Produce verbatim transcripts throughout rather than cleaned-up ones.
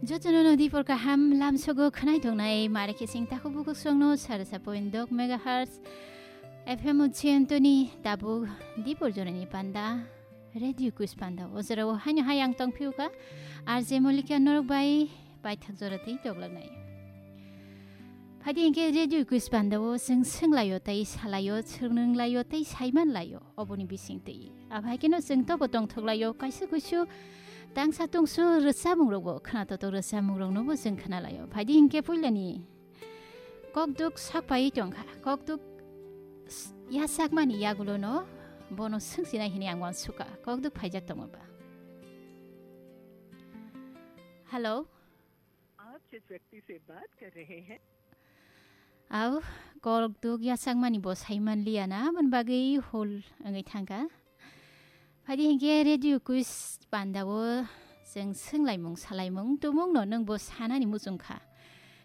Jotono no dipor kaham lamsogo khwnai tongnai, mare khe sing takhuk bukhuk songno sarasa point dok megahertz F M o chiyantoni tabuk dipor jorani panda, Radio Kuis panda. O jorao haino hai ang tongphiyuka, R J Molika norok bai paithak jora tei toglaknai. Phaidi hinkhe Radio Kuis panda o chwng swnglaio tei salaio, chwrwnglaio tei saimanlaio oboni bisingtwi. Abhaikeno chwng tobo tongthoklaio, kaisa kuisu tangsa tungsu rwchapmungrokbo, khwnatoto rwchapmungroknobo chwng khwnalaio. Phaidi hinkhe puilani kokduk sakpai tongkha, kokduk s-, yachakmani yagulono bono swngsinai hwnwi ang uansukha, kokduk phaijak tongmaba. Hello. आप जिस व्यक्ति से बात कर रहे हैं। Au, kokduk yachakmani bo saimanliya na, aboni bagwi hol wngwi thangkha. Phaidi hinkhe Radio Kuis panda o chwng swnglaimung salaimung tumungno nwng bo sanani muchungkha.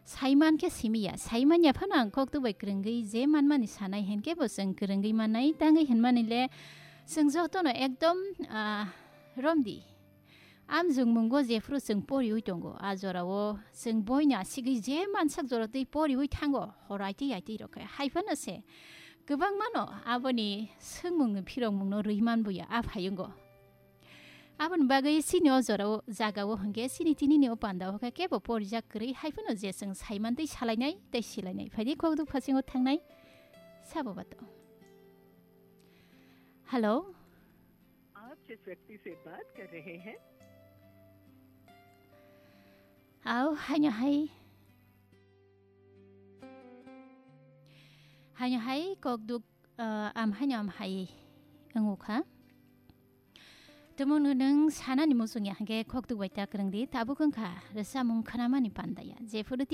Saiman khe simiya, saimanya phano ang kokduk bai kwrwngwi je manmani sanai hinkhe bo chwng kwrwngwi mannai, tangwi hinmani le chwng jotono ekdom, ah, romdi. Amjwngmungo jephru chwng poriwi tongo, a jorao chwng boina sigwi je mansak jora twi poriwi thango, horai tei yaitwi rok khe. Hai phano se kwbangmano aboni swngmungni phirokmungno rwi manbuya a phayungo. Aboni bagwi chini o jorao, jagao hwnkhe chini tinini o pandao khe kebo porijak kwrwi, hai phano je chwng saiman tei salainai tei silainai. Phaidi kokduk phasingo thangnai sabo bato. Hello. आप जिस व्यक्ति से बात कर रहे हैं। Au, haino hai. Haino hai kokduk, ah, am haino am hai wngukha. Tumungno nwng sanani muchungya hinkhe kokduk bai ta kwrwngdi, tabuk wngkha rwchapmung khwnamani pandaya. Jephuru